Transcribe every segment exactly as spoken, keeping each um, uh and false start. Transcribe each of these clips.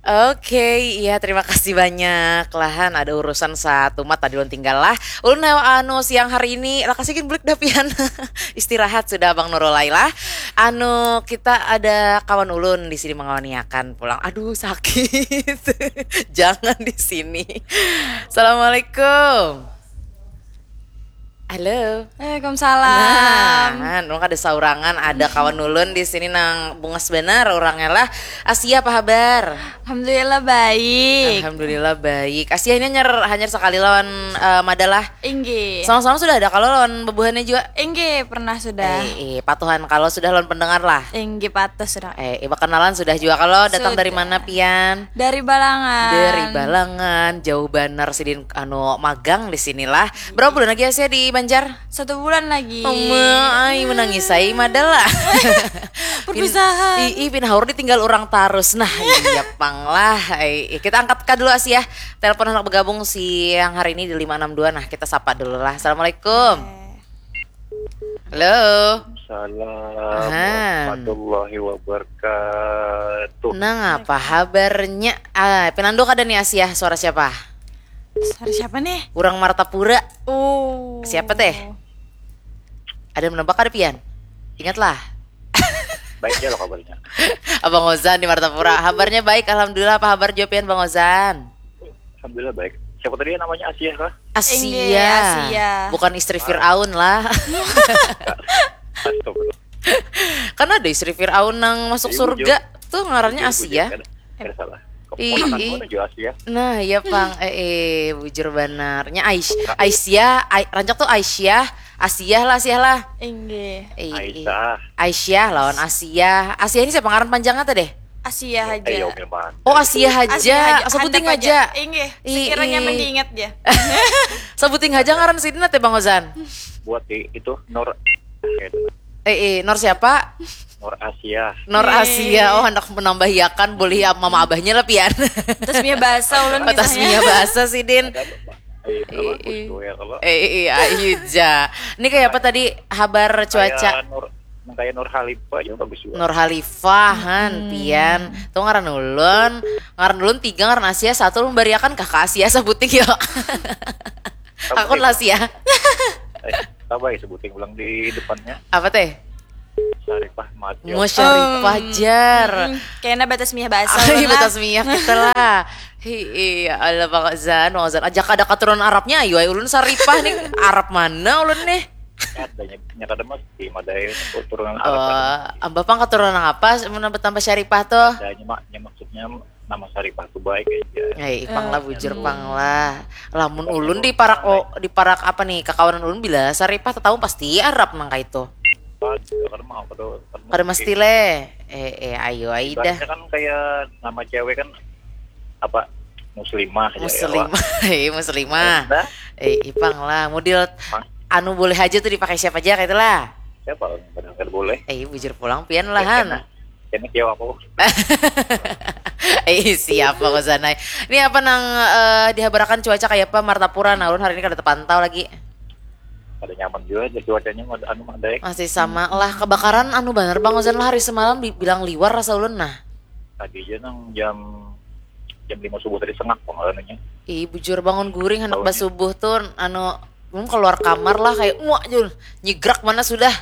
Oke, iya, terima kasih banyak lah, Han. Ada urusan satu mat tadi ulun tinggal lah. Ulun, anu, siang hari ini, lakasi gin bulik dah pian. Istirahat sudah, Abang Nurul, lah. Anu, kita ada kawan ulun di sini mengawaniakan pulang. Aduh, sakit. Jangan di sini. Assalamualaikum. Halo. Waalaikumsalam. Nah, nung kada saurangan, ada kawan ulun di sini nang bungas banar urangnya lah. Asia, apa habar? Alhamdulillah baik. Alhamdulillah baik. Asia ini hanyar, hanyar sakali lawan, eh, Mada lah. Inggih. Sama-sama sudah ada kalo lawan bebuhannya jua? Inggih, pernah sudah. Eh, eh, patuhan kalo sudah lawan pendengar lah. Inggih, patuh sudah. Eh, eh, bakanalan sudah jua kalo, datang dari mana pian? Dari Balangan. Dari Balangan, jauh banar sidin anu magang di sini lah. Berapa bulan lagi Asia di Banjar? Satu bulan lagi. Oma, ai, menangis ai Mada lah. Perpisahan. Ih, ih, pin haur ditinggal orang tarus. Nah, iya pang lah. Ai, kita angkat ka dulu Asia. Telepon hendak bergabung siang hari ini di lima enam dua. Nah, kita sapa dulu lah. Assalamualaikum. Halo. Salam warahmatullahi wabarakatuh. Nah, apa habarnya? Ah, pinandu kada nih Asia, suara siapa? Suara siapa nih? Urang Martapura. Oh. Siapa teh? Ada menebak kada pian? Ingatlah. Baik aja lo kabarnya. Abang Ozan di Martapura. Habarnya baik, alhamdulillah. Apa habar jua pian, Bang Ozan? Alhamdulillah baik. Siapa tadi yang namanya Asia kah? Asia. Inggih, Asia. Bukan istri Firaun lah. Astagfirullah. Kan ada istri Firaun nang masuk surga. Tuh ngarannya Asia. Kada salah. Ih, ih. Nah, iya pang. Eh, eh, bujur banar. Nya Ais Aisyah, Ai- rancak tuh Aisyah, Asiah lah, Asiah lah. Inggih. Ih, ih. Aisyah. Aisyah lawan Asiah. Asiah ini siapa ngaran panjangnya teh deh? Asia aja. Oh, Asia aja. Asia aja. Sebuting aja. Inggih. Ih, sekiranya ih. Masih ingat ya. Sebuting aja ngaran sidin teh, Bang Ozan. Buat di itu Nur. Eh, eh, Nur siapa? Nur Asia. Nur Asia. Oh, hendak menambahiakan boleh ya, mama abahnya lah pian. Tasbih bahasa ulun. Oh, tasbih bahasa sidin. Ada apa? Iya, apa? Ih, ih. Kusduel, apa? Eh, eh, eh, ayu ja. Ini kayak apa tadi habar cuaca? Kayak Nur, nang kayak Nur Khalifah aja bagus juga. Nur Khalifah, han, pian. Tuh ngaran ulun, ngaran ulun tiga, ngaran Asia satu, ulun bariakan kah ka Asia sebuting yo. Akun lah Asia. Eh, apa ya sebuting ulang di depannya? Apa teh? Syarifah Majo. Mau Syarifah jar. Mm-mm. Kena batas miyah bahasa. Ay, ulun lah. Batas miyah kita lah. Hi, iya, Allah, Bang Zan, Bang Zan. Aja kada katurunan Arabnya, ayo, ayo, ulun Saripah nih. Arab mana ulun nih? Ada nya, nya kada mesti madai keturunan Arab. Oh, kan. Abah pang keturunan apa? Mun tambah Syaripah tuh? Ada nya, mak, nya maksudnya nama Saripah tuh baik aja. Eh, ipang lah, bujur pang lah. Lamun ulun di parak, oh, di parak apa nih? Kakawanan ulun bila Saripah tetamu pasti Arab nang kaitu. Pas, kada mau, kada, kada mesti leh. Eh, eh, ayo, ai dah. Ibaratnya kan kayak nama cewek kan apa? Muslimah aja ya, Muslimah. Wak. Eh, muslimah. Nah. Eh, ipang lah. Model anu boleh aja tuh dipakai siapa aja kayak itulah. Siapa? Padahal kada boleh. Eh, bujur pulang pian lah, han. Kena, kena kiau aku. Eh, siapa kau sana? Ini apa nang, eh, dihabarakan cuaca kayak apa Martapura? Nah, ulun hari ini kada terpantau lagi. Kada nyaman juga aja cuacanya, anu, madai. Masih sama lah. Kebakaran anu banar, Bang Ozan lah, hari semalam dibilang liwar rasa ulun nah. Tadi aja nang jam, jam lima subuh tadi sengak pang anunya. Ih, bujur, bangun guring hendak basubuh tuh, anu, belum keluar kamar lah, kayak, "Muak," jul. Nyigrak mana sudah.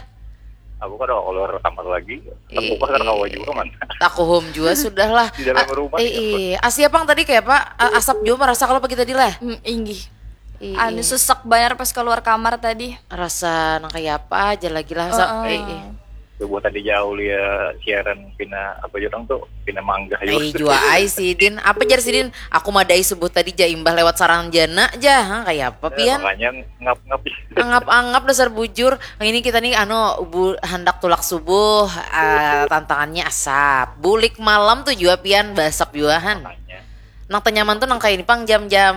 Aku kada keluar kamar lagi. Tapi kada kawa juga, man. Takuhum juga sudah lah. Di dalam rumah. Iya, Asia pang tadi kayak apa? A-, asap juga merasa kalau pagi tadi lah. Mm, inggih. Anu, sesak banar pas keluar kamar tadi. Rasa nang kayak apa aja lagi lah, sa-, subuh tadi jauh ya siaran pina apa jurang tuh, pina manggah jua. Ai, jua ai sidin. Apa jar sidin? Aku madai subuh tadi ja imbah lewat sarang jana ja. Hah, kayak apa pian? Makanya ngap-ngap. Angap-angap dasar bujur. Nah, ini kita nih anu bu, hendak tulak subuh, eh, tantangannya asap. Bulik malam tuh jua pian basap jua, han. Makanya. Nang tenyaman tuh nang kayak ini pang jam-jam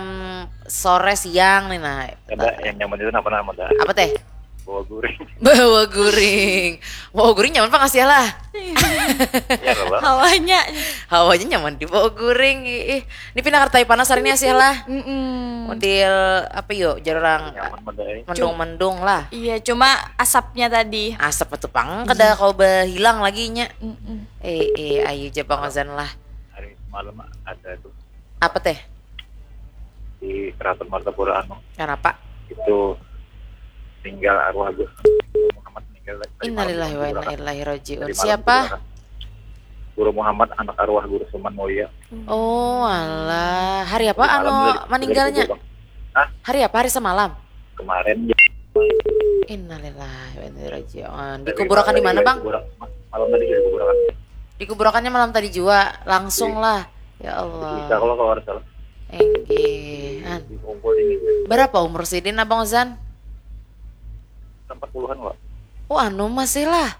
sore siang nih nah. Ada yang nyaman itu apa nama dah? Apa teh? Bawa guring. Bawa guring. Bawa guring nyaman pang Asia lah. Iya lah. Hawanya. Hawanya nyaman di bawa guring. Ih, ini pindah kartai panas hari ini Asia lah. Mm-mm. Model apa yuk? Jarang mendung-mendung lah. Iya, cuma asapnya tadi. Asap itu pang kada kau bahilang lagi nya. Mm-mm. Eh, eh, ayo ja Bang Ozan lah. Hari Malam ada tuh Apa teh? Di Keraton Martapura anu Kenapa? Itu meninggal arwah Gus Muhammad meninggal tadi malam Innalillahi wa dikuburan. Inna Ilaihi Rajiun. Tadi malam Siapa? Dikuburan. Guru Muhammad, anak arwah Guru Suman Mulia. Oh Allah. Hari apa Tadi anu malam sudah- sudah meninggalnya? Dikuburan. Hah? Hari apa? Hari semalam. Kemarin Innalillahi wa inna ilaihi rajiun. Tapi Dikuburakan di malam mana, tadi Bang? dikuburan. Malam tadi juga dikuburan. Dikuburakannya malam tadi juga, langsung lah. Ya Bisa Allah. Kalau kalau nggak salah. Enggih. An. Dikumpul ini. Berapa umur sidin, Abang Ozan? Empat puluhan lah. Oh, anu masih lah.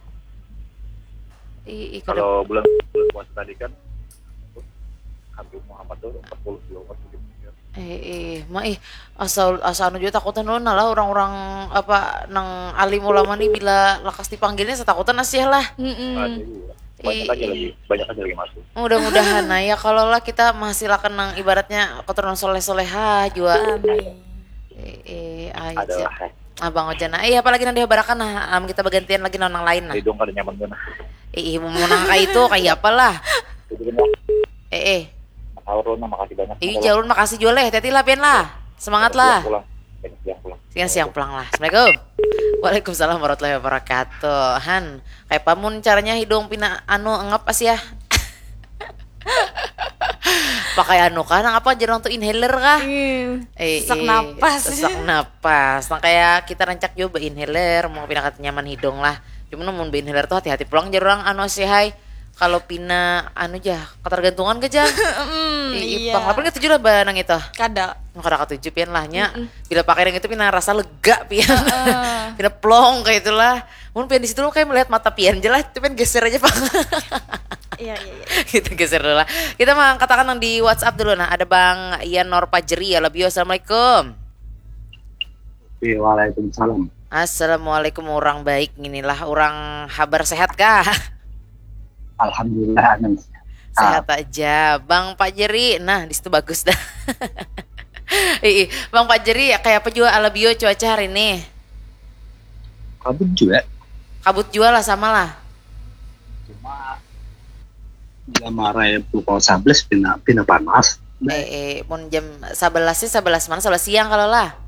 Ih, ih, kada Kalau bulan bulan puasa tadi kan Habib Muhammad tuh empat puluh kilo empat puluh kilo. Eh, eh, ma ih, asal asa anu juga takutan ulun lah orang-orang apa nang alim ulama nih bila lakas dipanggilnya setakutan asih lah. Mm-mm. Ada juga. Banyak aja Ih. Lagi, banyak aja lagi masuk. Mudah-mudahan nah ya kalau lah kita menghasilkan nang ibaratnya keturunan soleh-solehah juga. Amin. Eh, eh, aja. Adalah Abang Ojana. Eh, apalagi nanti habarakan nah, am kita bagantian lagi nang lain nah. Hidung kada nyaman gana. Eh, eh, mau nang kayak itu kayak apalah. Jadi kena Eh, eh. Sahur lo, makasih banyak. Ih, jalur makasih juga leh. Hati-hati lah pian lah. Semangat lah. Pulang. Banyak yang pulang. Sekian siang pulang lah. Assalamualaikum. Waalaikumsalam warahmatullahi wabarakatuh. Han, kayak pamun caranya hidung pina anu ngap as ya. Pakai anu kah? Nang apa jarang tuh inhaler kah? Ih, Eh, sesak eh, napas. Sesak napas. Nah kayak kita rancak juga inhaler, mau pina kata nyaman hidung lah. Cuma namun inhaler tuh hati-hati pulang jar orang anu sih hai. Kalau pina anu jah ketergantungan ke jar. Mm, Ih, iya. Ipang, apa katuju lah ba nang itu? Kada. Kada katuju pian lah nya. Bila pakai yang itu pina rasa lega pian. Pina plong kayak itulah. Mun pian di situ lo kayak melihat mata pian je lah, itu pian geser aja pang. Iya, iya, iya. Kita geser dulu lah. Kita mengangkatakan yang di WhatsApp dulu nah. Ada Bang Ian Nor Pajeri ya, lebih assalamualaikum. Oke, waalaikumsalam. Assalamualaikum, orang baik, inilah orang habar sehat kah? Alhamdulillah, Anang. Sehat aja, Bang Pak Jeri. Nah, di situ bagus dah. Ih, Bang Pak Jeri, kayak apa juga alabio cuaca hari ini? Kabut juga. Kabut juga lah, sama lah. Cuma bila marai pukul sebelas pina, pina panas. Eh, eh, mun jam sebelas sih, sebelas mana? Sebelas siang kalau lah.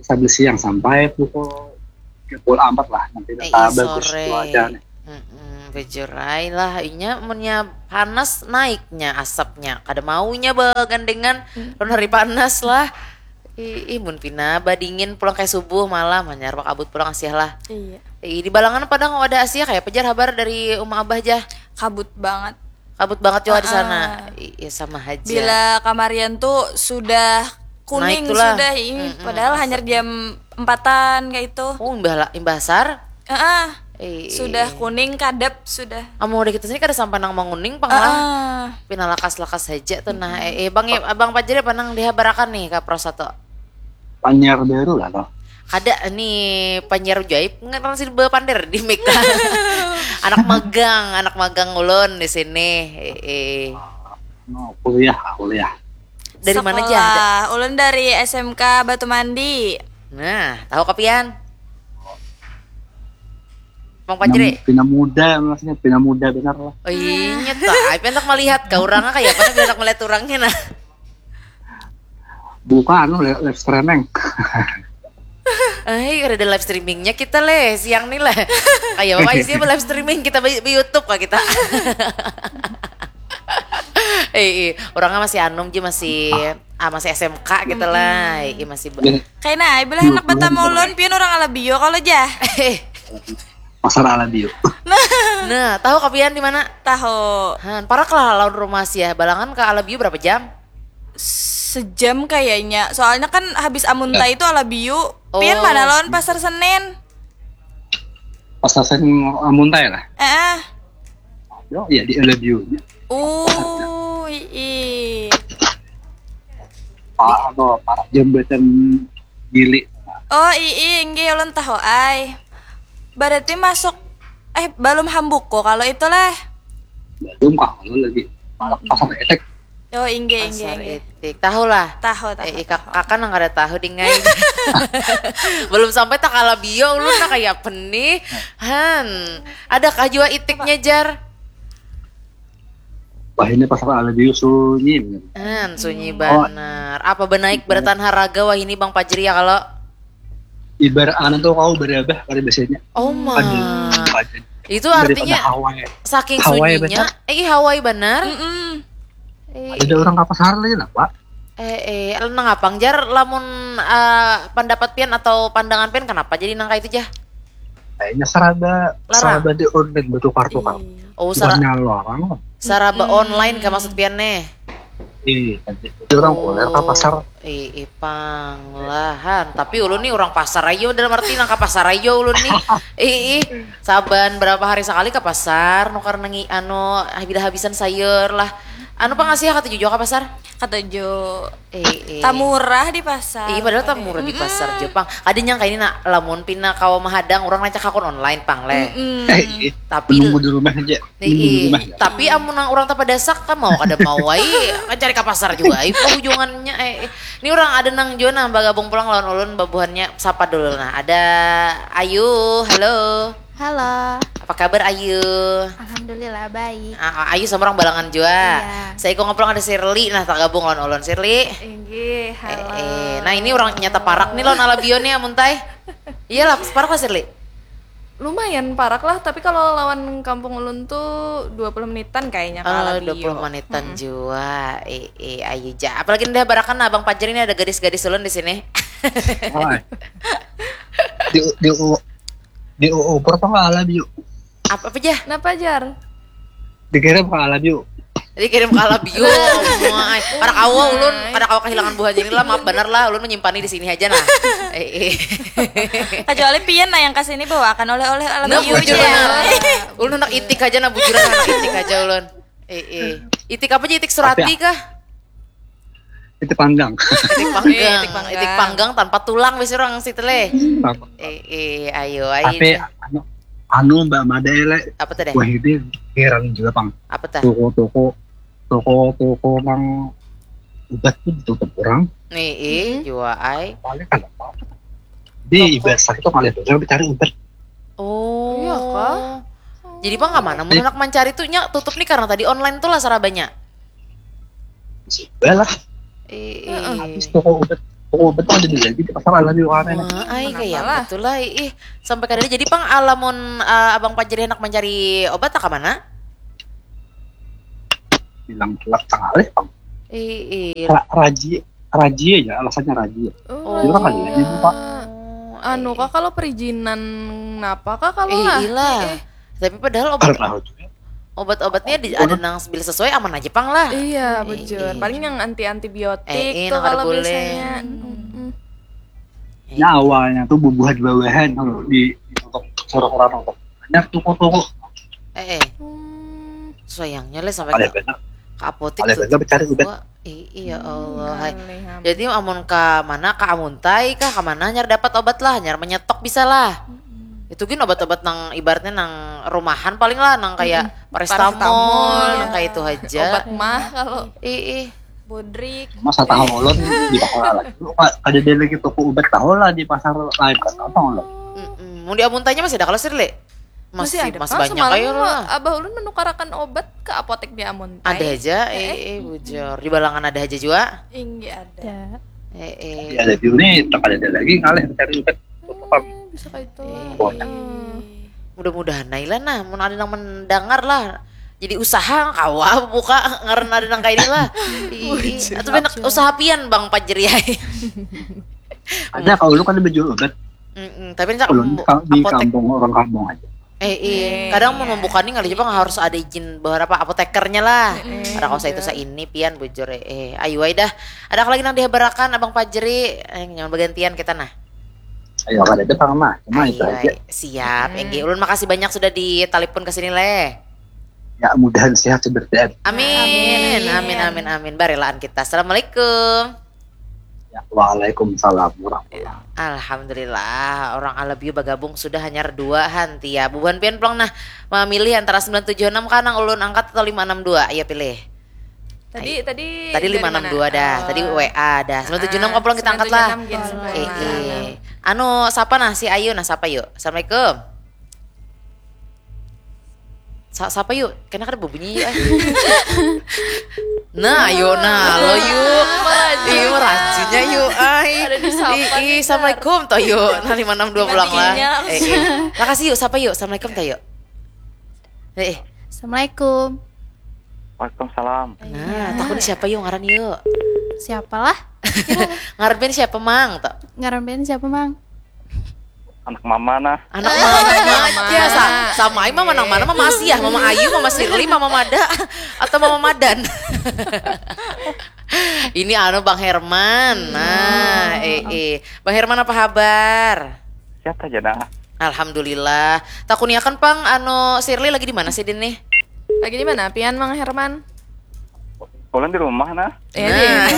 Sebelas siang sampai pukul pukul empat lah nanti Eh, tak iya, bagus sore. Cuacanya. Mm-mm, bujur ai lah, inya munnya panas naiknya asapnya, kada maunya bagandengan lawan hari panas lah. Ih, ih, mun pina badingin pulang kayak subuh malam hanyar bakabut pulang asih lah. Iya. Ih, di Balangan padang ada asih kayak pejar habar dari uma abah jah. Kabut banget. Kabut banget juga di Ah, sana. ah. Ih, iya sama aja. Bila kamarian tuh sudah kuning Naik tuh lah. sudah ih. Mm-mm, Padahal hanya jam empatan kayak itu. Oh, imbah la- imbah asar. Heeh. Eh, Sudah kuning kadep sudah. Amun udah kita sini kada sampai nang manguning pang lah. Heeh. Pina lakas-lakas aja tuh nah. Eh, eh, bang, eh, abang Pajeri apa nang dihabarakan nih ke Pro Satu? Panyiar baru lah toh. Kada nih panyiar jaib ngaran si bapander di mic. Anak magang, anak magang ulun di sini. Eh, eh. No, kuliah, kuliah. Dari mana aja? Sekolah. Ulun dari S M K Batu Mandi. Nah, tahu kapian? Bang Pajri. Pina muda maksudnya, pina muda benar lah. Oh iya, nyata. Ai pentak melihat ke orangnya kayak apa pentak melihat orangnya nah. Buka anu live, live streaming. Eh, ada live streamingnya kita leh siang nih lah. Kayak apa sih live streaming kita di YouTube kah kita? Eh, eh, orangnya masih anum ji masih ah, masih S M K gitu lah. Iya masih ba- Kayaknya ai bilang anak batamu ulun pian orang Alabio kalau jah. Eh, Pasar Alabio. nah, tahu kapian di mana? Tahu. Han, parak lah lawan rumah sih ya. Balangan ke Alabio berapa jam? Sejam kayaknya. Soalnya kan habis Amuntai itu Alabio. Pian Oh. Mana lawan Pasar Senen? Pasar Senen Amuntai lah. Eh, eh. Yo, iya di Alabio. Oh, ii. Pak apa Pak jembatan Gili. Oh, ii, inggih ulun tahu ai. Berarti masuk eh belum hambuko kalau itu lah. Belum kah kalau lagi. Malah pasar etek. Oh, inggih, inggih, Pasar inggih. Itik. Tahu lah. Tahu, tahu. Eh, kak- kakak nang kada tahu dingai. Belum sampai tak Alabio ulun nah kayak apa nih? Han, adakah jua itiknya jar? Wah, ini pasar Aladiu sunyi bener. Hmm, sunyi oh. Benar. Apa benaik beratan haraga wah ini Bang Pajri ya kalau? Ibarat anu tuh kau berabah pada biasanya. Oh my. Itu artinya saking sunyinya, eh Hawaii benar. Mm -mm. Eh, ada orang kapasar lagi lah, Pak. Eh, eh, nang apang jar lamun uh, pendapat pian atau pandangan pian kenapa jadi nang kayak itu jah? Kayaknya saraba saraba di online bertukar-tukar. Iya. Oh, saraba larang. Saraba hmm. Online ke maksud pian nih. Iya, jadi orang oh. Kuler ke pasar. Ih, ipang lahan. Tapi ulun nih orang pasar aja dalam arti nang ke pasar aja ulun nih. Ih, ih. Saban berapa hari sekali ke pasar nukar nengi anu bila habisan sayur lah. Anu pang ngasih katuju jua ka pasar? Katuju. Eh, eh. Tamurah di pasar. Iya, padahal tamurah di pasar Jepang. Ada nyangka ini nak lamun pina kawa mahadang orang rancak hakun online pang leh. Mm -mm. Eh, iya. Tapi nunggu di rumah aja. Iya. Tapi amun nang orang tapadasak kan mau kada mau ai kan cari ka pasar juga ai ujungannya eh, eh. Ini orang ada nang jua nang bagabung pulang lawan ulun babuhannya sapa dulu nah. Ada Ayu, halo. Halo. Apa kabar Ayu? Alhamdulillah baik. Ah, Ayu sama orang balangan jua. Iya. Saya ikut ngobrol ada Sirli, nah tergabung lawan ulun Sirli. Inggih, halo. Eh, eh. Nah ini orang nyata parak nih lawan Alabio nih Amuntai. Iya lah, parak lah Sirli. Lumayan parak lah, tapi kalau lawan kampung ulun tuh dua puluh menitan kayaknya kalau oh, dua puluh menitan hmm. Jua. Eh, eh, Ayu ja. Apalagi udah barakan abang Pajar ini ada gadis-gadis ulun di sini. Oh, di, di, Di uupur apa nggak alab yuk? Apa apa jah? Kenapa jar? Dikirim ke alab yuk. Dikirim ke alab yuk. Kada kawa ulun, kada kawa kehilangan buah jadi lah, maaf benar lah, ulun menyimpannya di sini aja nah. Eh, eh. Kecuali pian nah yang kasih ini bawakan oleh-oleh alab nah, yuk. Ulun anak itik aja nah bujuran anak itik aja ulun. Eh, eh. Itik apa aja itik surati kah? Itik panggang. Itik panggang. Itik panggang. Itik panggang tanpa tulang wis orang situ leh. Hmm. Eh, eh, ayo ayo. Tapi anu, anu Mbak Mada leh. Apa tadi? Wah ini heran juga pang. Apa tadi? Toko-toko toko-toko mang ubat tuh ditutup orang. Nih, eh, jua ai. Paling kan apa? Di ibarat sakit tuh kalian tuh dicari ubat. Oh. Iya kah? Jadi bang mana mun anak mencari tuh nya tutup nih karena tadi online tuh lah sarabanya. Sudah lah. Iya. Habis toko obat, toko obat ada di lagi di pasar ada di mana? Wah, ai kayak betul lah. Ih, sampai kadang jadi pang alamun uh, abang pajari anak mencari obat tak mana? Bilang telat tengah pang. Iya. Ra raji raji aja alasannya raji. Oh. Jadi orang kali aja pak. Anu kak kalau perizinan napa kak kalau eh, lah. Ilah. Eh, eh. Tapi padahal obat obat-obatnya di, ada nang bila sesuai aman aja pang lah. Iya, bujur. Paling yang anti antibiotik eh, tuh kalau biasanya. Hmm. Ya awalnya tuh bubuhan bawahan kalau di untuk suruh orang untuk banyak toko-toko. Eh, eh. Hmm. Sayangnya lah sampai ke, ke apotek tuh. Ada benar mencari ubat. Iya Allah. Hai. Jadi amun ke mana ke Amuntai kah ke mana nyar dapat obat lah, nyar menyetok bisa lah. Itu gin obat-obat nang ibaratnya nang rumahan paling lah nang kayak mm-hmm. Paracetamol, nang kayak itu aja. Obat mah kalau ih, ih. Bodrik. Masa tahu ulun di pasar lagi. Ada dia lagi toko obat tahu lah di pasar lain kan apa ulun. Mau di Amuntainya masih ada kalau Sirle? Masih, masih ada masih banyak ayo lah. Abah ulun menukarakan obat ke apotek di Amuntai. Ada aja, eh, eh, eh bujur. Di Balangan ada aja juga. Inggi ada. Eh, eh. Ya, ada juga nih, tak ada lagi ngalih mencari obat. Eh, bisa kayak itu. Eh, eh. Mudah-mudahan Naila nah, mun ada yang mendengar lah. Jadi usaha kawa buka ngaran ada nang kayak ini lah. Atau banyak usaha pian Bang Pajri. Ada kalau lu kan ada jual obat. Mm -mm. Tapi nak di kampung orang kampung aja. Eh, eh. Kadang mau membuka nih kali Jepang harus ada izin beberapa apotekernya lah. Mm -mm. Ada kau itu saya ini pian bujur eh. eh. Ayo dah. Ada lagi nang dihabarakan Abang Pajri eh, yang bergantian kita nah. Ayo kada ada pang mah. Cuma itu aja. Siap. Hmm. Enggi ulun makasih banyak sudah ditelepon ke sini leh. Ya mudahan sehat seperti Amin. Amin amin amin. Barelaan kita. Assalamualaikum. Ya, waalaikumsalam warahmatullahi. Alhamdulillah, orang Alabio bergabung sudah hanya dua hanti ya. Bubuhan pian pulang nah memilih antara sembilan tujuh enam kanang ulun angkat atau lima enam dua ya pilih. Tadi Ayo. Tadi tadi lima enam dua dah, tadi W A dah. Sembilan tujuh enam ah, pulang kita angkat lah. Eh, eh. Anu siapa nah si Ayu nah siapa yuk. Assalamualaikum. Sa- sapa yuk? Kena kada berbunyi yuk. Ay. Nah, ayo nah lo yuk. Iya, merajinnya yuk. Ay. Ada disapa. Ih, nih, assalamualaikum toh yuk. Nah, lima enam dua pulang lah. Eh, eh. Makasih yuk, sapa yuk? Assalamualaikum toh yuk. Eh, eh. Assalamualaikum. Waalaikumsalam. Nah, takut siapa yuk ngaran yuk? Siapalah? Ngaran band siapa mang toh? Ngaran band siapa mang? Anak mama nah. Anak mama. Ya, sa- sama ai mama nang mana, mama Asiah, mama Ayu, mama Sirli, mama Mada, atau mama Madan. Ini anu Bang Herman. Nah, eh eh. Bang Herman apa habar? Siapa aja nah? Alhamdulillah. Takuniakan pang anu Sirli lagi di mana sih din nih? Lagi di mana pian Mang Herman? Pulang di rumah nah. Eh, nah.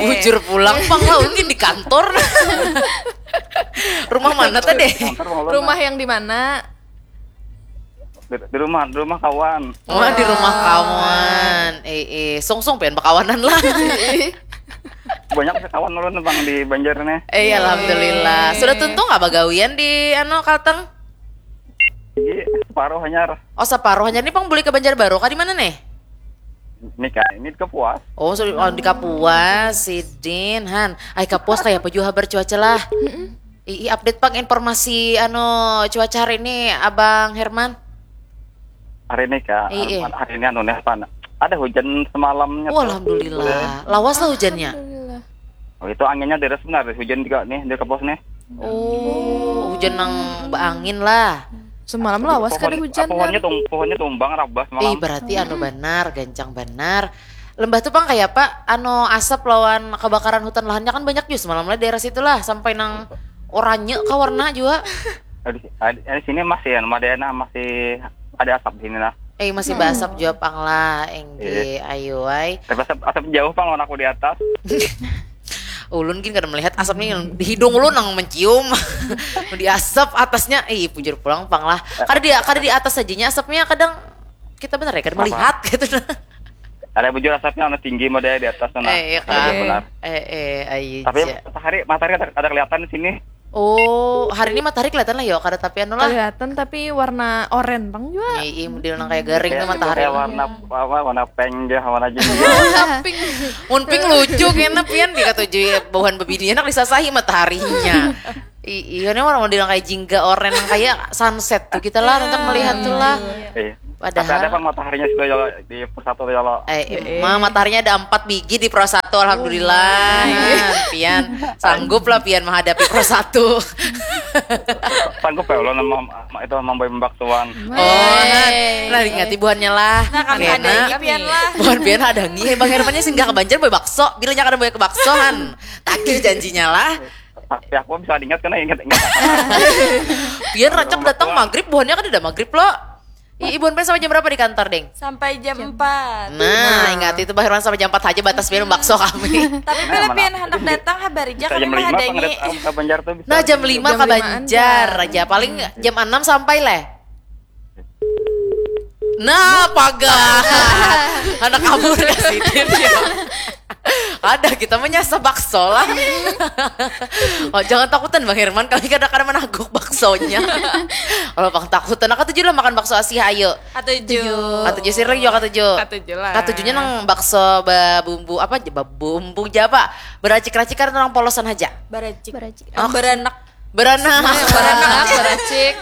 Bujur pulang pang lah ulun di kantor. Rumah mana tadi? Rumah yang di mana? Di, di rumah, di rumah kawan. Wah, di rumah kawan. Eh, eh, sungsung pengen berkawanan lah. Banyak sih kawan ulun bang di Banjar nih. Eh, alhamdulillah. Sudah tuntung apa gawian di anu Kalteng? Ini separuh hanyar. Oh, separuh hanyar. Ini pang boleh ke Banjar Baru kah di mana nih? Ini kan, ini di Kapuas. Oh, so- oh, di Kapuas, sidin han. Ai Kapuas kayak apa juga habar cuaca lah. Ii update pang informasi anu cuaca hari ini Abang Herman. Hari ini kak, Ii. Hari ini anu nih apa? Ada hujan semalamnya. Oh, tuh. Alhamdulillah. Lawas lah hujannya. Alhamdulillah. Oh, itu anginnya deres benar, hujan juga nih di Kapuas nih. Oh, hujan nang beangin lah. Semalam lawas kada hujan pohonnya tum, pohonnya tumbang rabah semalam. Ih, berarti anu benar, gancang benar. Lembah tu pang kaya apa? Anu asap lawan kebakaran hutan lahannya kan banyak jua semalam lah daerah situ lah sampai nang oranye kah warna jua. Di sini masih anu ada masih ada asap di sini lah. Eh, masih basap jua pang lah, engge, ayo ai. Tapi asap, asap jauh pang lawan aku di atas. Ulun gin kada melihat asap nih di hidung ulun nang mencium. Di asap atasnya, ih bujur pulang pang lah. Kada di kada di atas saja nya asapnya kadang kita benar ya kada melihat gitu. Ada bujur asapnya ada tinggi model di atas sana. Eh, iya kan. Benar. Eh, eh, ayo. Tapi matahari matahari ada, ada kelihatan di sini. Oh, hari ini matahari kelihatan lah yo, kada tapi anu lah. Kelihatan tapi warna oren pang jua. Iya, iya, model nang kayak garing tuh matahari. Kayak warna apa, warna pink ya, warna jingga. Pink. Mun pink lucu kena pian dikatujui buhan bebini anak disasahi mataharinya. Iya, ini warna model nang kayak jingga oren nang kayak sunset tuh kita lah untuk melihat tuh lah. Iya. Padahal ada pang mataharinya sudah ya di Pro Satu ya lo. Eh, emang mataharinya ada empat biji di Pro Satu, alhamdulillah. Nah, pian sanggup lah pian menghadapi Pro Satu. Sanggup ya lo nama itu mambai membaksuan. Oh, nah, nah ingati buhannya lah. Nah, kami ada pian lah. Buhan pian ada nih, Bang Hermannya singgah ke Banjar boy bakso. Bilanya kada boy ke baksohan. Tagih janjinya lah. Tapi aku bisa ingat kena ingat ingat. Pian rancak datang maghrib, buhannya kan udah maghrib lo. Ibu sampai jam berapa di kantor, Ding? Sampai jam empat. Nah, ingat itu bahirwan sampai jam empat aja batas biar bakso kami. Tapi bila pian hendak datang habari aja kami mah hadangi. Nah, jam lima ke Banjar aja. Paling jam enam sampai leh. Nah, pagar. Anak kabur ke sini. Ada kita menyasa bakso lah. Oh, jangan takutan Bang Herman, kami kada kada menaguk baksonya. Kalau Bang takutan, aku tujuh lah makan bakso Asia ayo. Katuju. Katuju sih lagi juga katuju. Katuju lah. Katujunya nang bakso babumbu apa babumbu aja apa beracik-racik karena orang polosan aja. Baracik. Baracik. Oh. Baranak. Baranak. Baranak, baracik.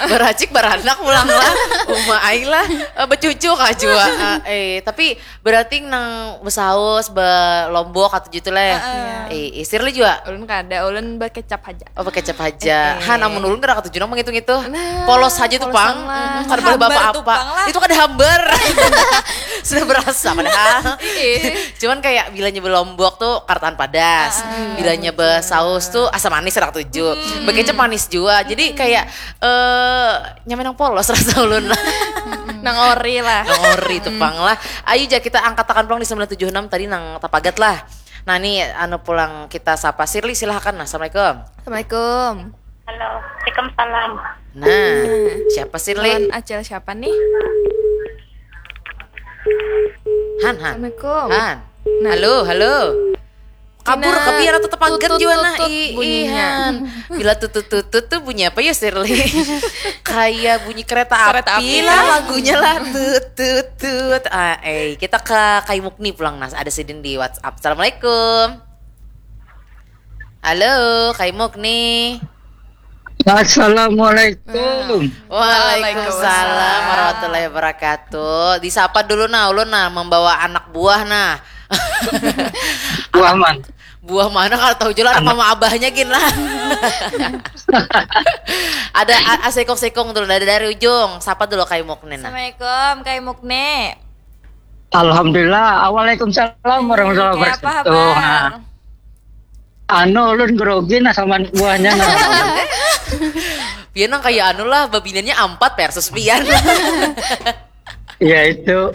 Baracik baranak pulang lah. Uma ai lah. Eh, becucu kah jua. Eh, eh, tapi berarti nang besaus, belombok atau gitu lah. Eh, eh, sirli juga. Ulun kada, ulun bekecap aja. Oh, bekecap aja. Eh, eh. Han, amun ulun kada katuju nang menghitung itu. Nah, polos aja tuh pang. Lah. Mm-mm, kada boleh bapak apa. Itu kada hambar. Sudah berasa padahal. Iya. Cuman kayak bilanya belombok tuh kartaan padas. Bilanya besaus tuh asam manis anak tujuh. Bekecap manis juga. Jadi kayak eh nyamai nang polos rasa ulun. Nang ori lah. Nang ori tuh pang lah. Ayo ja kita angkatakan pulang di sembilan tujuh enam tadi nang tapagat lah. Nah, nih anu pulang kita sapa Sirli, silahkan. Nah, assalamualaikum. Assalamualaikum. Halo, waalaikumsalam. Nah, siapa Sirli? Lawan Acil siapa nih? Han, Han. Assalamualaikum. Han. Nah. Halo, halo. Kabur, tapi ada tetap pagar jua nah. Ih, ihan. Bila tutut-tutut tuh bunyi apa ya, Shirley? Kayak bunyi kereta api lah lagunya lah. Tut, tut, tut. Ah, eh, kita ke Kai Mukni pulang nah. Ada sidin di WhatsApp. Assalamualaikum. Halo, Kai Mukni. Assalamualaikum. Waalaikumsalam warahmatullahi wabarakatuh. Disapa dulu nah, ulun nah membawa anak buah nah. Buah man. Buah mana kalau tahu jual anak mama abahnya gin lah. Ada a- asikung-sikung dulu dari, dari ujung. Sapa dulu Kai Mukni nah. Assalamualaikum, Kai Mukni. Alhamdulillah. Waalaikumsalam warahmatullahi wabarakatuh. Nah. Anu, ulun grogi nah sama anak buahnya nah. Pian nang kayak anu lah, babinannya ampat versus pian. Iya itu.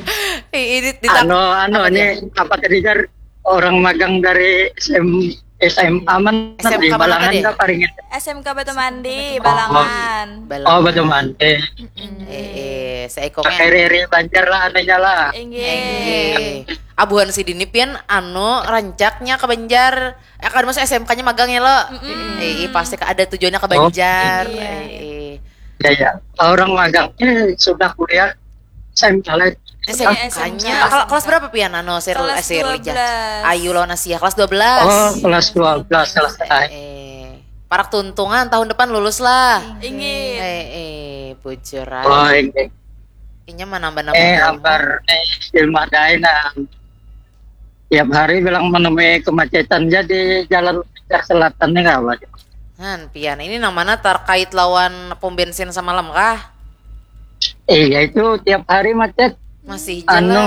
Ih, ini di anu, anu ini apa tadi jar, orang magang dari S M, S M A mana di Balangan kah paringin? S M K Batu Mandi, Balangan. Oh, Batu Mandi. Eh, eh, seikongnya. Riri Banjar lah anunya lah. Inggih. Abuhan si Dini pian anu rancaknya ke Banjar. Eh, kan masuk S M K-nya magang ya lo. Eh, eh, pasti ada tujuannya ke Banjar. Eh, eh. Ya, ya. Orang magang ini sudah kuliah S M K lah. S M K-nya. Kela- kelas berapa pian anu Sir Sir Lijah? Ayu lawan Asia kelas dua belas. Oh, kelas dua belas kelas eh, eh. Parak tuntungan tahun depan lulus lah. Inggih. Eh, eh, bujur. Oh, inggih. Inya menambah-nambah. Eh, ambar eh, ilmu dain nah. Tiap hari bilang menemui kemacetan jadi jalan Banjar Selatan nih kawan. Han, pian ini nang mana terkait lawan pom bensin semalam kah? Iya itu tiap hari macet. Masih jalan. Anu,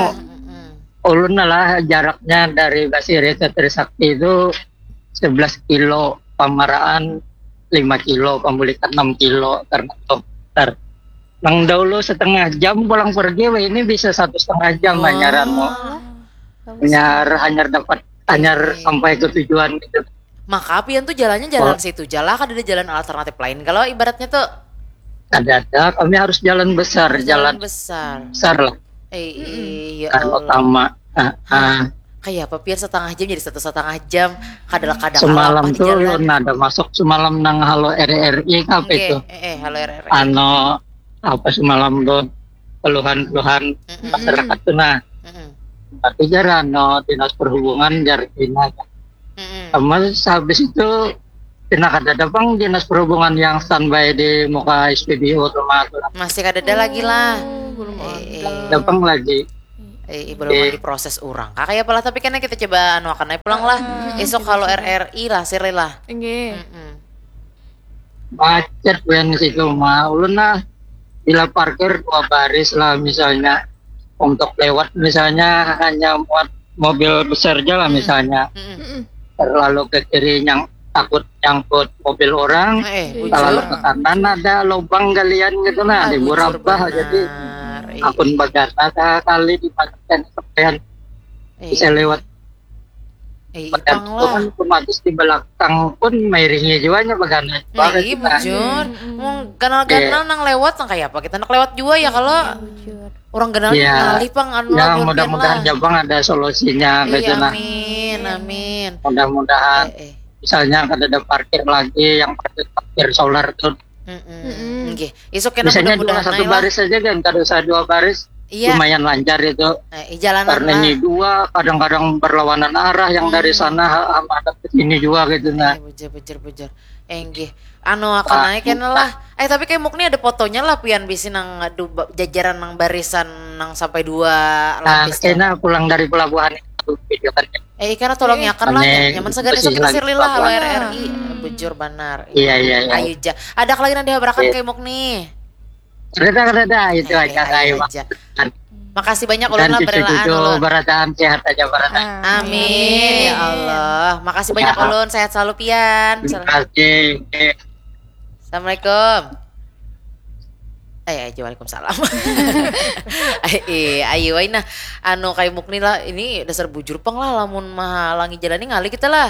ulun lah jaraknya dari Basiri ke Trisakti itu sebelas kilo, Pamaraan lima kilo, Pambulikan enam kilo karena dokter. Nang dahulu setengah jam pulang pergi, weh, ini bisa satu setengah jam hanyar anu. Hanyar hanyar dapat hanyar sampai ke tujuan gitu. Maka pian tuh jalannya jalan situ jalan, kada ada jalan alternatif lain kalau ibaratnya tuh. Kada ada, kami harus jalan besar, jalan besar. Besar lah. Eh, iya. Kan utama. Ah, ah. Kayak apa pian setengah jam jadi satu setengah jam kada kada semalam tuh ulun ada masuk semalam nang Halo R R I apa itu? Eh, eh, Halo R R I. Ano apa semalam tuh keluhan-keluhan masyarakat tuh nah. Tapi jar ano dinas perhubungan jar ini. Sama habis itu Pina kada ada pang dinas perhubungan yang standby di muka S P B U rumah tu. Masih kada ada lagi lah. Oh, belum ada. Ada pang lagi. Eh, belum ada proses urang. Kak, kayak apalah tapi kena kita coba anu akan pulang lah. Esok kalau R R I lah, sirli lah. Inggih. Macet ben situ mah. Ulun lah bila parkir dua baris lah misalnya untuk lewat misalnya hanya muat mobil besar aja lah misalnya. Terlalu ke kiri yang takut nyangkut mobil orang, eh, terlalu ke kanan ada lubang galian gitu nah, di burabah jadi akun bagana kali di bagian sampean bisa lewat. Eh, ipang lah. Kan otomatis di belakang pun mairingi juga nya bagana. Nah, iya bujur. Mau ganal-ganal nang lewat nang kayak apa kita nak lewat juga ya kalau. Orang ganal ngalih pang anu ya, mudah-mudahan Jabang ada solusinya gitu nah. Amin, amin. Mudah-mudahan eh, eh. Misalnya kada ada parkir lagi yang parkir parkir solar tuh. Mm-mm. Nggih. Isuk kena misalnya dua satu baris saja kan, kada usah dua baris. Iya. Lumayan lancar itu. Eh, karena ini dua kadang-kadang berlawanan arah yang dari sana sama ada ke sini juga gitu nah. Eh, bujur, bujur, bujur. Eh, nggih. Anu akan naik kena lah. Eh tapi kayak mukni ada fotonya lah pian bisi nang jajaran nang barisan nang sampai dua lapis. Kena pulang dari pelabuhan itu video kan. Eh ikan tolong yakan lah nyaman segala esok kita sirli lah halo R R I. Bujur banar. Iya iya iya. Ayo ja. Ada lagi nang dihabarakan kayak mukni. Ada ada itu aja. Makasih banyak ulun lah berelaan ulun. Barataan sehat aja barataan. Amin ya Allah. Makasih banyak ulun sehat selalu pian. Terima kasih. Assalamualaikum. Eh, aja waalaikumsalam. Eh, ayo wae nah. Anu kayak mukni lah ini dasar bujur pang lah lamun mahalangi jalan ini ngalih kita lah.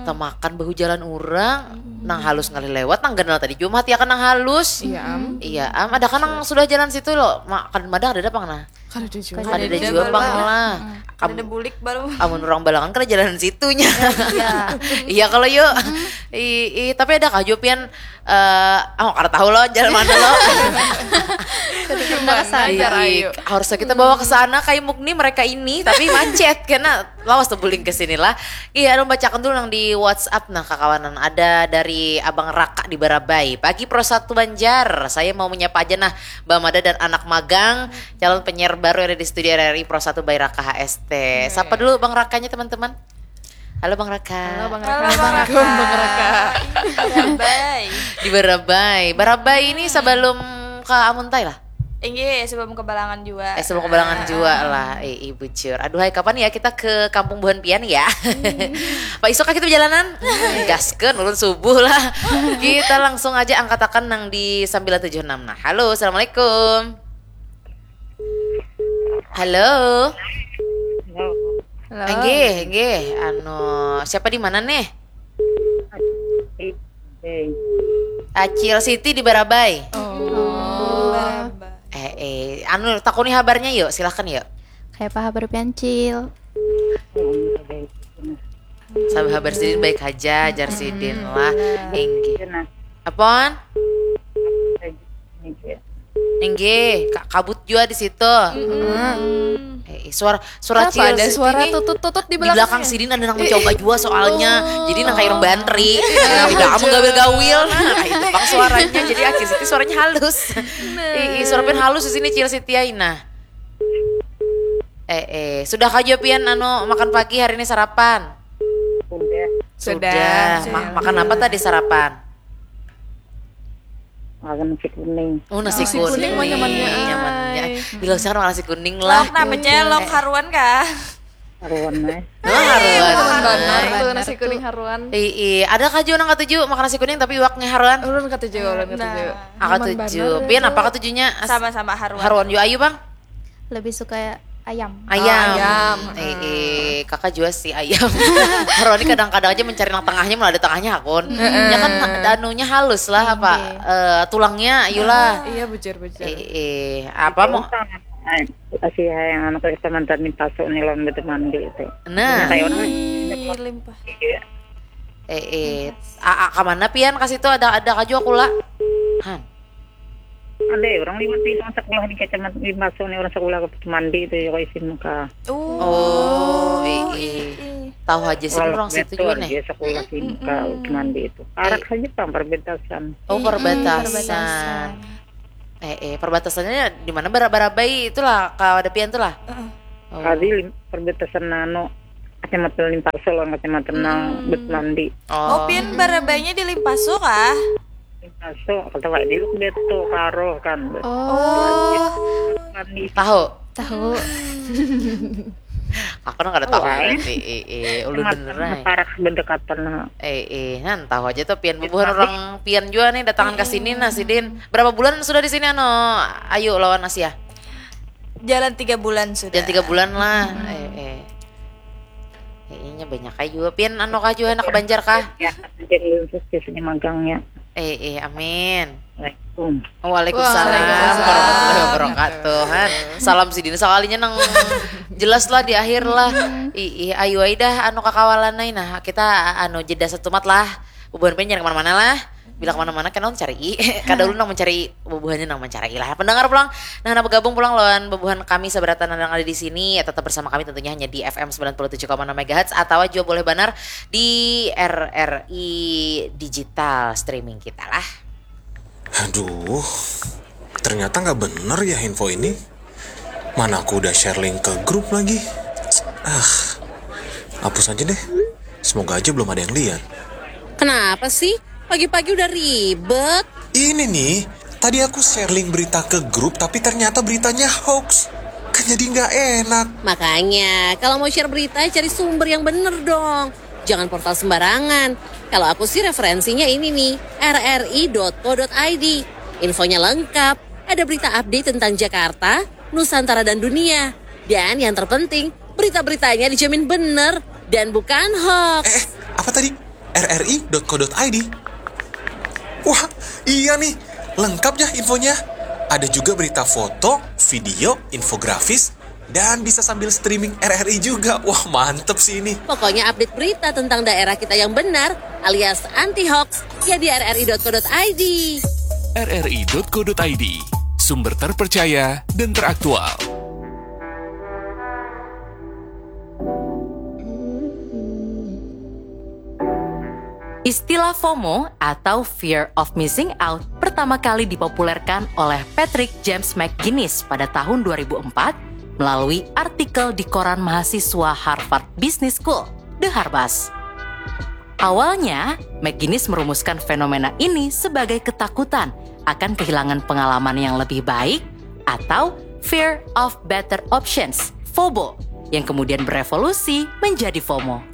Tamakan bahu jalan urang, nang halus ngalih lewat, nang ganal tadi jua mahati akan nang halus. Iya am. Iya am, ada kan nang sudah jalan situ lo, makan madah ada pang nah. Kadada jua pang lah. Kadada bulik baru. Amun urang Balangan kada jalanan situnya. Iya kalau yuk. I, i, tapi ada kah jua pian, eh, oh, kada tahu lo jalan mana lo. Harusnya kita bawa ke sana kayak Mukni mereka ini, tapi macet karena lawas tuh buling ke sini lah. Iya, anu bacakan dulu nang di WhatsApp nah kakawanan, ada dari Abang Raka di Barabai. Pagi Pro Satu Banjar, saya mau menyapa aja nah Mbak Mada dan anak magang, calon penyiar baru yang ada di studio R R I Pro Satu by Raka H S T. Sapa dulu Bang Rakanya teman-teman. Halo Bang Raka. Halo Bang Raka. Halo Bang Raka. Bye. Di Barabai. Barabai ini sebelum ke Amuntai lah. Inggih, sebelum ke Balangan jua. Eh, sebelum ke Balangan jua lah. Eh, eh, bujur. Aduh, hai, kapan ya kita ke Kampung Buhan Pian ya? Pak, isuk kita berjalanan. Gaskeun, ulun subuh lah. Kita langsung aja angkatakan nang di sembilan tujuh enam. Nah, halo, assalamualaikum. Halo. Halo. Halo. Enggih, enggih. Anu, siapa di mana nih? Acil Siti di Barabai. Oh. Eh, eh, anu, takuni habarnya yuk, silahkan yuk. Kayak apa habar piancil? Sabar habar sidin baik aja, jar sidin lah. Inggih. Apon? Inggih, ka- kabut jua di situ. Eh, suara suara Kenapa cil ada Siti suara nih. Tutut-tutut di Di belakang belakangnya? Sidin ada nang mencoba jua soalnya. Jadi nang kayak orang bantri. Nah, udah kamu gawil-gawil. Nah, itu bang suaranya. Jadi akhir Siti suaranya halus. Ih, ih, suara pian halus di sini cil Siti ai nah. Eh, eh, sudah kah jua pian anu makan pagi hari ini sarapan? Sudah. Sudah. Ma- makan apa tadi sarapan? Makan nasi kuning. Oh, nasi kuning. Nasi kuning mah nyamannya, ai. Nyamannya. Bila usah makan nasi kuning lah. Lauk napa cel? Lauk haruan kah? Haruan, eh. Oh, haruan. Haruan banar tuh, nasi kuning haruan. Ih, ih. Ada kah jua nang katuju makan nasi kuning tapi iwaknya haruan? Ulun katuju, ulun katuju. Nah. Ah, katuju. Pian apa katujunya? As- Sama-sama haruan. Haruan jua ayu, Bang. Lebih suka ayam. Ayam. Oh, ayam. Eh, eh, kakak jua sih ayam. Haruan ini kadang-kadang aja mencari nang tengahnya, malah ada tengahnya hakun. Ya kan anunya halus lah apa? Iya. Eh, tulangnya ayolah. Iya, bujur, bujur. Eh, eh, apa mau? Masih yang anu kayak mantan nih pasuk nih lawan betul mandi itu. Nah. Kayak orang Ih, limpah. Iya. Eh, eh. A, a, ke mana pian ke situ ada ada kaju aku lah. Han. Ada ya, orang lima puluh orang sekolah di kecamatan di Baso nih, orang sekolah ke mandi itu ya, kayak sini muka. Oh, eh, eh. Tahu aja sih orang situ juga nih. Dia sekolah sini muka ke mandi itu. Arak saja pang perbatasan. Oh, perbatasan. Eh, eh, perbatasannya di mana? Bara-, Barabai itulah, kawadapian tuh lah. Oh. Kali lim-, perbatasan nano, kecamatan Limpaso lawan kecamatan nang Betmandi. Oh, pian Barabainya di Limpaso kah? Limpaso, kata Pak Diluk dia tuh karo kan. Oh. Mandi. Tahu? Tahu. Aku nang kada tahu berarti. Eh, eh, ulun beneran. Parak berdekatan, nah. Eh, eh, nan tahu aja tuh pian bubuhan orang pian jua nih datangan ke sini nah sidin. Berapa bulan sudah di sini anu Ayu lawan Asia? Jalan tiga bulan sudah. Jalan tiga bulan lah. Eh, eh. Eh, inya banyak ayu. Pian anu kah jua anak Banjar kah? Ya, jadi khusus biasanya magangnya. Eh, eh, amin. Assalamualaikum. Waalaikumsalam warahmatullahi wabarakatuh. Han. Salam sidin sakalinya nang jelas lah di akhir lah. Ih, ih, ayu ai dah anu kakawalan ai. Nah, kita anu jeda satumat lah. Bubuhan pian jangan kemana-mana lah. Bila kemana-mana kena mencari. Kada ulun nang mencari, bubuhannya nang mencari lah. Pendengar pulang, nah, nah bergabung pulang lawan bubuhan kami sabaratan yang ada di sini. Ya, tetap bersama kami tentunya hanya di F M sembilan puluh tujuh koma enam megahertz atau juga boleh banar di R R I digital streaming kita lah. Aduh, ternyata nggak bener ya info ini. Mana aku udah share link ke grup lagi. Ah, hapus aja deh. Semoga aja belum ada yang lihat. Kenapa sih? Pagi-pagi udah ribet. Ini nih, tadi aku share link berita ke grup tapi ternyata beritanya hoax. Kan jadi nggak enak. Makanya, kalau mau share berita, cari sumber yang bener dong. Jangan portal sembarangan. Kalau aku sih referensinya ini nih, R R I dot co dot I D. Infonya lengkap, ada berita update tentang Jakarta, Nusantara dan dunia. Dan yang terpenting, berita-beritanya dijamin bener dan bukan hoax. Eh, eh, apa tadi? R R I dot co dot I D. Wah, iya nih, lengkap ya infonya. Ada juga berita foto, video, infografis, dan bisa sambil streaming R R I juga. Wah, mantep sih ini. Pokoknya update berita tentang daerah kita yang benar alias anti hoax ya di rri.co.id. rri.co.id, sumber terpercaya dan teraktual. Istilah FOMO atau Fear of Missing Out pertama kali dipopulerkan oleh Patrick James McGuinness pada tahun dua ribu empat melalui artikel di koran mahasiswa Harvard Business School, The Harvest. Awalnya, McGuinness merumuskan fenomena ini sebagai ketakutan akan kehilangan pengalaman yang lebih baik atau Fear of Better Options, FOBO, yang kemudian berevolusi menjadi FOMO.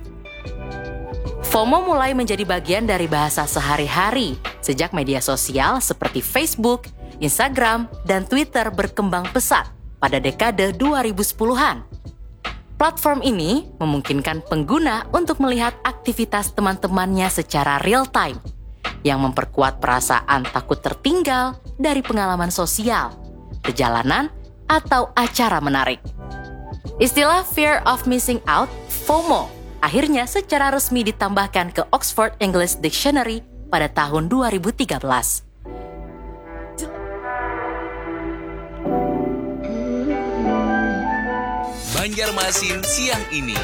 FOMO mulai menjadi bagian dari bahasa sehari-hari sejak media sosial seperti Facebook, Instagram, dan Twitter berkembang pesat pada dekade dua ribu sepuluhan. Platform ini memungkinkan pengguna untuk melihat aktivitas teman-temannya secara real time, yang memperkuat perasaan takut tertinggal dari pengalaman sosial, perjalanan, atau acara menarik. Istilah Fear of Missing Out, FOMO, akhirnya secara resmi ditambahkan ke Oxford English Dictionary pada tahun dua ribu tiga belas. Banjarmasin siang ini.